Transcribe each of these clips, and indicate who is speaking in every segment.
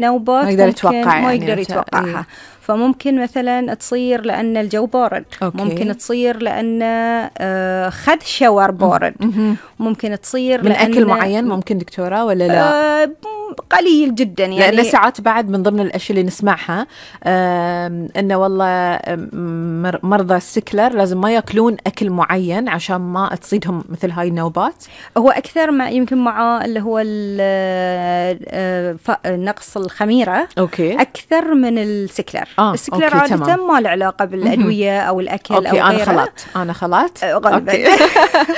Speaker 1: نوبات
Speaker 2: ما يقدر يتوقع،
Speaker 1: ما يقدر يتوقعها. فممكن مثلا تصير لأن الجو بارد. ممكن تصير لأن خذ شاور بارد. ممكن تصير
Speaker 2: من أكل معين ممكن دكتورة ولا لا؟
Speaker 1: قليل جدا يعني.
Speaker 2: لأن ساعات بعد من ضمن الأشياء اللي نسمعها إنه والله مرضى السكلر لازم ما يأكلون أكل معين عشان ما تصيدهم مثل هاي النوبات.
Speaker 1: هو أكثر ما يمكن مع اللي هو نقص الخميرة أكثر من السكلر. السكلر عادة ما له علاقة بالأدوية أو الأكل أو غيره.
Speaker 2: أنا خلط
Speaker 1: غالبا.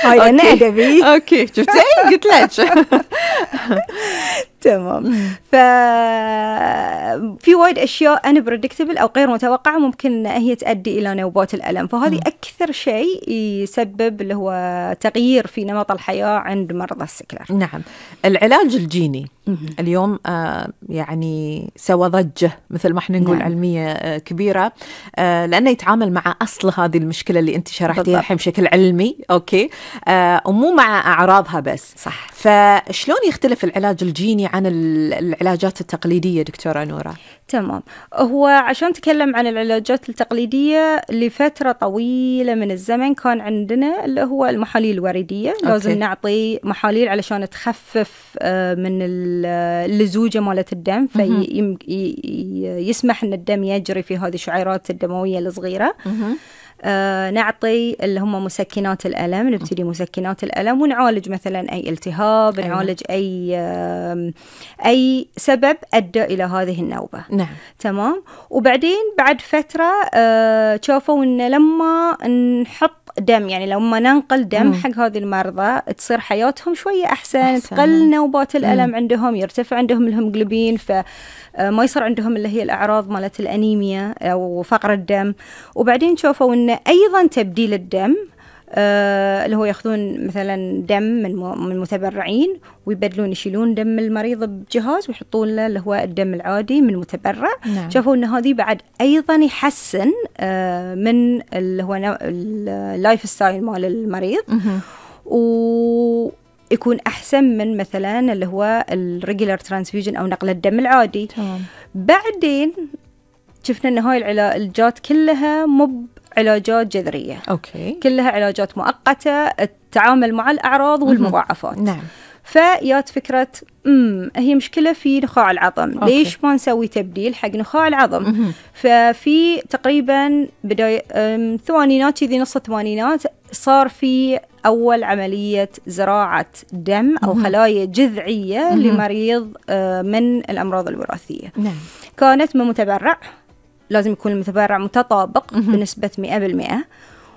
Speaker 1: هاي أنا أدبي.
Speaker 2: أوكي شفتي قلت لك.
Speaker 1: تمام. ففي وايد أشياء unpredictable أو غير متوقعة ممكن هي تؤدي إلى نوبات الألم. فهذه أكثر شيء يسبب اللي هو تغيير في نمط الحياة عند مرضى السكلر.
Speaker 2: نعم. العلاج الجيني اليوم يعني سوى ضجة مثل ما احنا نقول علمية كبيرة، لأنه يتعامل مع أصل هذه المشكلة اللي أنت شرحتيها الحين بشكل علمي. أوكي. ومو مع أعراضها بس.
Speaker 1: صح.
Speaker 2: فشلون يختلف العلاج الجيني عن العلاجات التقليدية دكتورة نورة؟
Speaker 1: تمام. هو عشان نتكلم عن العلاجات التقليدية لفترة طويلة من الزمن كان عندنا اللي هو المحاليل الوريدية. لازم نعطي محاليل علشان تخفف من اللزوجة مالت الدم، فيسمح أن الدم يجري في هذه الشعيرات الدموية الصغيرة. نعطي اللي هم مسكنات الألم، نبتدي مسكنات الألم ونعالج مثلا أي التهاب. نعالج أي سبب أدى إلى هذه النوبة.
Speaker 2: نعم.
Speaker 1: تمام. وبعدين بعد فترة شافوا أن لما نحط دم، يعني لما ننقل دم حق هذه المرضى تصير حياتهم شوية أحسن. تقل نوبات الألم عندهم، يرتفع عندهم الهيموغلوبين، فما يصير عندهم اللي هي الأعراض مالت الأنيميا أو فقر الدم. وبعدين شافوا أن أيضا تبديل الدم اللي هو يأخذون مثلا دم من متبرعين ويبدلون، يشيلون دم المريض بجهاز ويحطون له اللي هو الدم العادي من متبرع.
Speaker 2: نعم.
Speaker 1: شافوا أن هذه بعد أيضا يحسن من اللي هو اللايف ستايل مال المريض، ويكون أحسن من مثلا اللي هو الريجولار ترانسفيوجن أو نقل الدم العادي. بعدين شفنا أن هاي العلاجات كلها علاجات جذرية. كلها علاجات مؤقتة، التعامل مع الأعراض والمضاعفات.
Speaker 2: نعم.
Speaker 1: فيات فكرة هي مشكلة في نخاع العظم. ليش ما نسوي تبديل حق نخاع العظم؟ ففي تقريبا بداية الثمانينات، ذي نص الثمانينات، صار في أول عملية زراعة دم أو خلايا جذعية لمريض من الأمراض الوراثية.
Speaker 2: نعم.
Speaker 1: كانت من متبرع، لازم يكون المتبرع متطابق بنسبة 100%.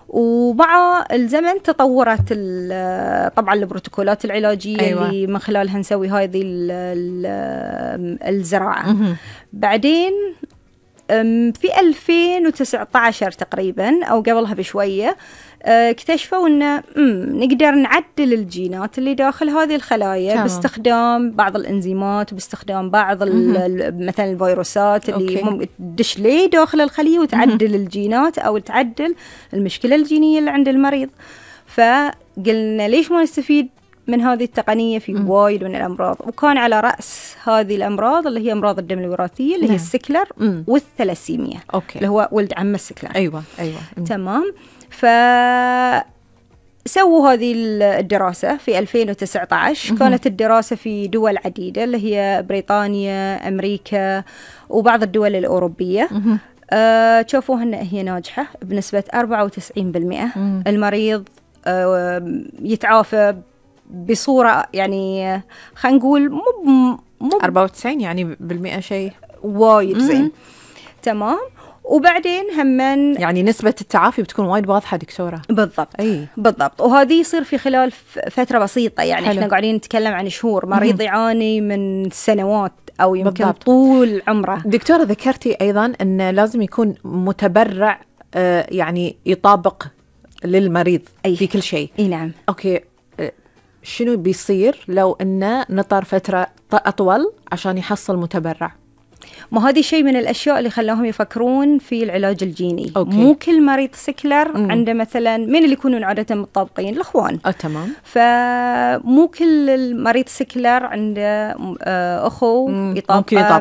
Speaker 1: ومع الزمن تطورت طبعا البروتوكولات العلاجية اللي من خلالها نسوي هذه الزراعة. بعدين في 2019 تقريبا أو قبلها بشوية اكتشفوا أن نقدر نعدل الجينات اللي داخل هذه الخلايا باستخدام بعض الإنزيمات وباستخدام بعض مثلا الفيروسات اللي تدش ليه داخل الخلية وتعدل الجينات أو تعدل المشكلة الجينية اللي عند المريض. فقلنا ليش ما نستفيد من هذه التقنية في وايد من الأمراض. وكان على رأس هذه الأمراض اللي هي أمراض الدم الوراثية اللي هي السكلر والثلاسيميا اللي هو ولد عم السكلر.
Speaker 2: أيوة.
Speaker 1: تمام. سووا هذه الدراسة في 2019. كانت الدراسة في دول عديدة اللي هي بريطانيا، أمريكا، وبعض الدول الأوروبية. شافوها أن هي ناجحة بنسبة 94%. المريض يتعافى بصورة يعني خلينا نقول مو
Speaker 2: 94 يعني بالمئة، شيء
Speaker 1: وايد زين. تمام. وبعدين همن
Speaker 2: يعني نسبة التعافي بتكون وايد واضحة دكتورة.
Speaker 1: بالضبط. بالضبط. وهذه يصير في خلال فترة بسيطة، يعني احنا قاعدين نتكلم عن شهور. مريض يعاني من سنوات أو يمكن طول عمره.
Speaker 2: دكتورة ذكرتي أيضا أن لازم يكون متبرع يعني يطابق للمريض في كل شيء.
Speaker 1: نعم.
Speaker 2: أوكي. شنو بيصير لو أنه نطر فترة أطول عشان يحصل متبرع؟
Speaker 1: ما هذه شيء من الأشياء اللي خلاهم يفكرون في العلاج الجيني.
Speaker 2: أوكي.
Speaker 1: مو كل مريض سكلر عنده مثلا، من اللي يكونون عادة متطابقين؟ الأخوان.
Speaker 2: تمام.
Speaker 1: فمو كل المريض سكلر عنده أخو يطابقه